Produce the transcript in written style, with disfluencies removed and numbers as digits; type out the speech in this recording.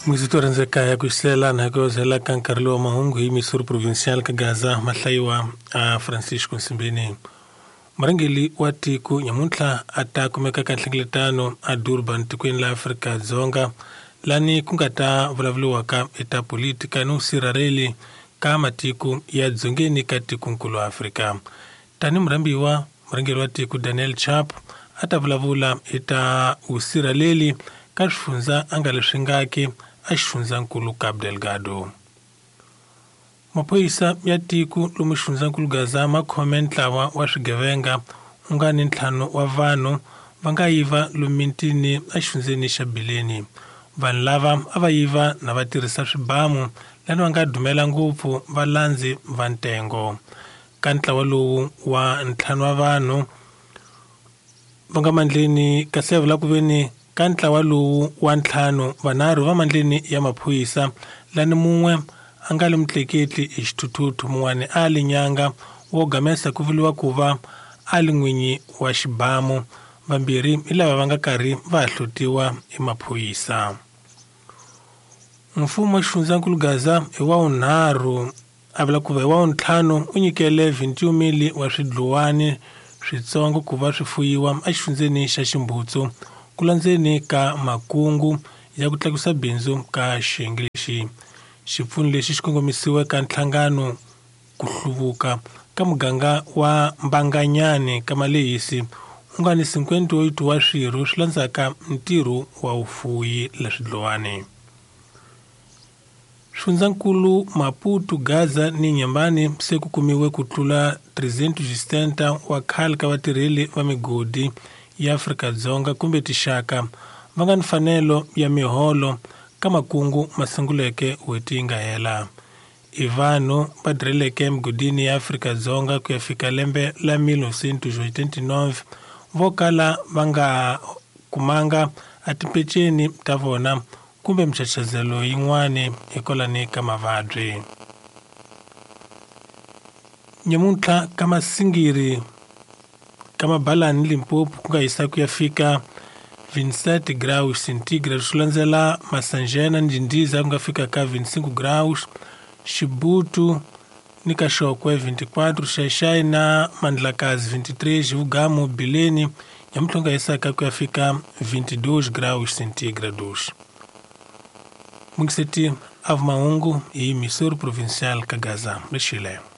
Muzito rhandzekaya ku xisela na ku zela ka nkarhi lowu wa mahungu hi Missouri Provincial ka Gaza mahlayiwa a Francisco Nsimbini. Murhangeri wa tiko nyamuntlha a ta kumeka ka nhlengeletano a Durban tikweni la Afrika-Dzonga lani ku nga ta vulavuriwaka eta politika ni vusirhareli ka matiko ya dzongeni ka tikonkulu Afrika. Tani murhambiwa murhangeri wa tiko Daniel Chapo a ta vulavula hi ta vusirhaleli ka swifundza a nga leswi ngaki a xifundzankulu Cabo Delgado. Maphorisa ya tiko lomu xifundzankulu Gaza ma khome ntlawa wa swigevenga u nga ni ntlhanu wa vanhu va nga yiva lomu mitini exifundzeni xa Bileni. Vanhu lava a va yiva na va tirhisa swibamu lani va nga dumela ngopfu valandzi va ntengo. Ka ntlawa lowu wa ntlhanu wa vanhu va nga mandleni kasi ya vula ku veni ka ntlawa lowu wa ntlhanu vanharhu va mandleni ya maphorisa lani mun'we a nga li mutleketli hi xithuthuthu mun'wani a li nyanga wo gamesa ku vuriwa ku va a li n'winyi wa xibamu vambirhi hi lava va nga karhi va hlutiwa hi maphorisa. Mfumo wa xifundzankulu Gaza hi wa vunharhu a vula ku va hi wa vuntlhanu u nyikele 21 wa swidluwani switsongo ku va swi fuyiwa exifundzeni xa Ximbutsu ku landzeni ka makungu ya ku tlakusa bindzu ka xiyenge lexi. Xipfuno lexi xi kongomisiwe ka nhlangano ku hluvuka ka muganga wa Mbanganyani ka Malehisi u nga ni 58 wa swirho swi landzaka ntirho wa vufuwi la swidlowani. Swifundzankulu Maputo, Gaza ni Nyambani se ku kumiwe ku tlula 360 wa khale ka vatirheli va migodi ya Afrika-Dzonga kumbe tixaka va nga ni mfanelo ya miholo ka makungu ma sunguleke n'hweti yi nga hela. I vanhu va tirheleke emigodini ya Afrika-Dzonga ku ya fika lembe la 1989 vo kala va nga kumanga a timpeceni ta vona kumbe michachazelo yin'wani hikwalani ka mavabyi. Nyamuntlha ka Masingiri ka Mabalani Limpopo ku nga hisa ku ya fika 27 graus centigrade swi landzela Masanjena ni Ndindiza ku nga fika ka 25 graus, Xibutu ni ka Xokwe 24, Xaixai na Mandlakazi 23, Xivugamu Bileni nyamuntlha ku nga hisaka ku ya fika 22 graus centigrados. Mungiseti a mahungu hi Missouri Provincial ka Gaza le Chile.